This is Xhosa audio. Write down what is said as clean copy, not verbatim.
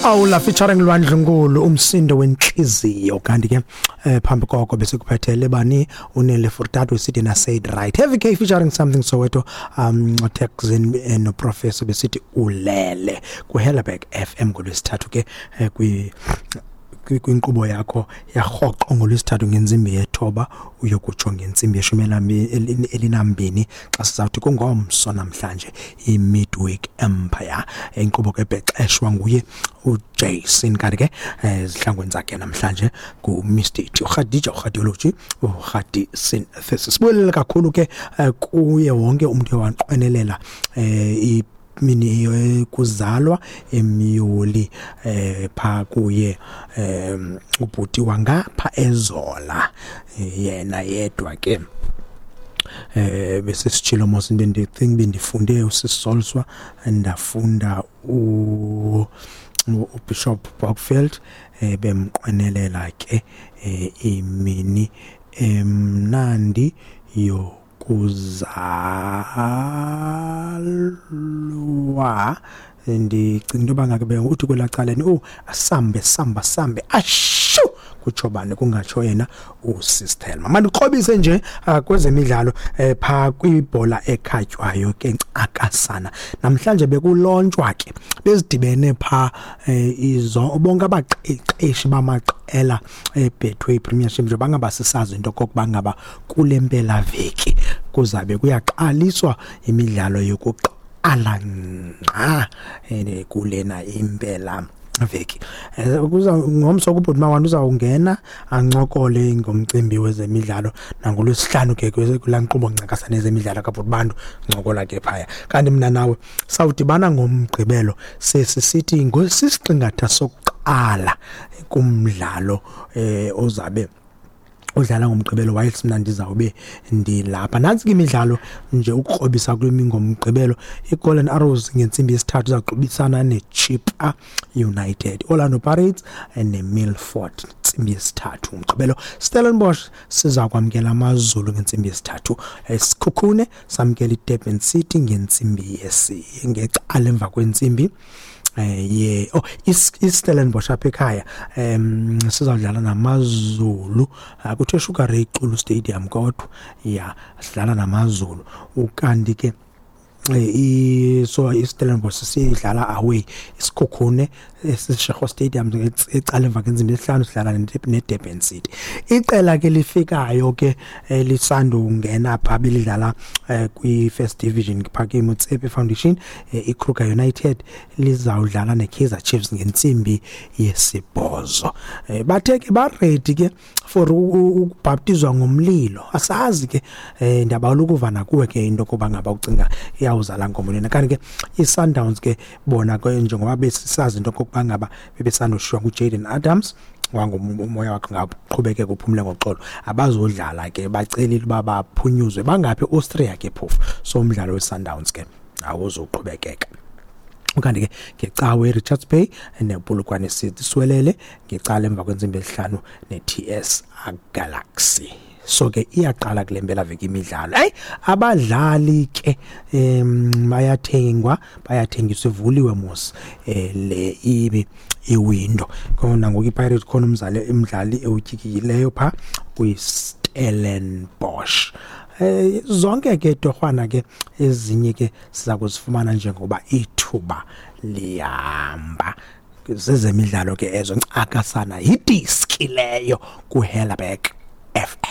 Awula featuring Lwandlunkulu, umsindo wentliziyo. Kanti ke phambi koko besikuphethele bani? Unele Furtado sithi na Said Right, Heavy K featuring Something Soweto, Texin no Professor besithi ulele ku Helderberg FM ngolwesithathu ke kwinkqubo yakho yarhoqo ngolwesithathu ngentsimbi yethoba uyokutsho ngentsimbi yeshumi elinambini, xa sizawuthi kungomso namhlanje i-Midweek Empire, inkqubo ke ebhexeshwa nguye uJason. Kanti ke zihlangweni zakhe namhlanje nguMr T, uRhadija, uRhadiology, uRhadi Synthesis. Sibulele kakhulu ke kuye wonke umntu owanqwenelela mini kuzalwa emyoli pha kuye ubhuti wangapha ezola yena yedwa ke. Bese sitshilo mos, bendicinga bendifunde usisolswa, ndafunda uBishop Bockfield, bemqwenelela ke imini emnandi yokuzalwa. Ndicinga into yoba ngake uthi kwelaa caleni, oh, asambe samba sambe ashu, kutsho bani? Kungatsho yena uSistelma. Mandikrobise nje kwezemidlalo phaa kwibhola ekhatywayo ke ncakasana. Namhlanje bekulontshwa ke, bezidibene phaa izo bonke abaqeqeshi bamaqela eBetway Premiership, nje bangaba sisazi into okokuba ngaba kule mpelaveki kuzabe kuyaqaliswa imidlalo yokuqala ngqa kulena impela veki. Kuza ngomso kubhuti Mawanda, uzawungena ancokole ngomcimbi wezemidlalo nangolwesihlanu ke kulaa nkqubo ncakasana ezemidlalo kabhuti Bantu, ncokola ke phaya. Kanti mna nawe sawudibana ngomgqibelo, sesisithi ngosisiqingatha sokuqala kumdlalo ozabe udlala ngomgqibelo, whilst mna ndizawube ndilapha. Nantsi ke imidlalo nje ukukrobisa kule ngomgqibelo: i-Golden Arrows ngentsimbi yesithathu izawuqubisana neChippa United, Orlando Pirates neMilford ntsimbi yesithathu ngomgqibelo. Stellenbosch siza kwamkela AmaZulu ngentsimbi yesithathu, Sekhukhune samkela iDurban City ngentsimbi yesi ngecala emva kwentsimbi ye oh iStellenbosch apha ekhaya sizawudlala namaZulu kuthiwe Sugar Ray Xulu Stadium, kodwa ya sidlala namaZulu. Ukanti ke so iStellenbosch sidlala away, iSikhukhune eSeshego Stadium ecala emva kwentsimbi yesihlanu sidlala neDurban City. Iqela ke lifikayo ke lisandungena pha, belidlala kwi-First Division pha kwiMotsepe Foundation, iKruger United lizawudlala neKaizer Chiefs ngentsimbi yesibhozo. Bathe ke ba-ready ke for ukubhaptizwa ngomlilo. Asazi ke, ndiyabawela ukuva nakuwe ke into yokuba ngaba ucinga iyawuzala nkomo lena. Kanti ke i-Sundowns ke bona ke, njengoba besisazi into okokuba ngaba bebesandoshiywa nguJaden Adams, wangumoya wakhe ngaqhubekeka uphumle ngoxolo, abazodlala ke, bacelile uba baphunyuzwe bangaphi Austria ke phofu, so umdlalo we-Sundowns ke awuzuqhubekeka. Ukanti ke ngecawe iRichards Bay nePolokwane City, Siwelele ngecala emva kwentsimbi esihlanu ne-TS Galaxy. So ke iyaqala kule mpelaveki imidlalo. Hayi, abadlali ke bayathengwa, bayathengiswa, ivuliwe mos le ibi iwindow khona ngoku. iPirates khona umzali umdlali ewutyikileyo pha kwiStellenbosch. Zonke ke torhwana ke ezinye ke siza kuzifumana njengoba ithuba lihamba. Zezemidlalo ke ezo ncakasana, yidiski leyo kuHellerberg FM.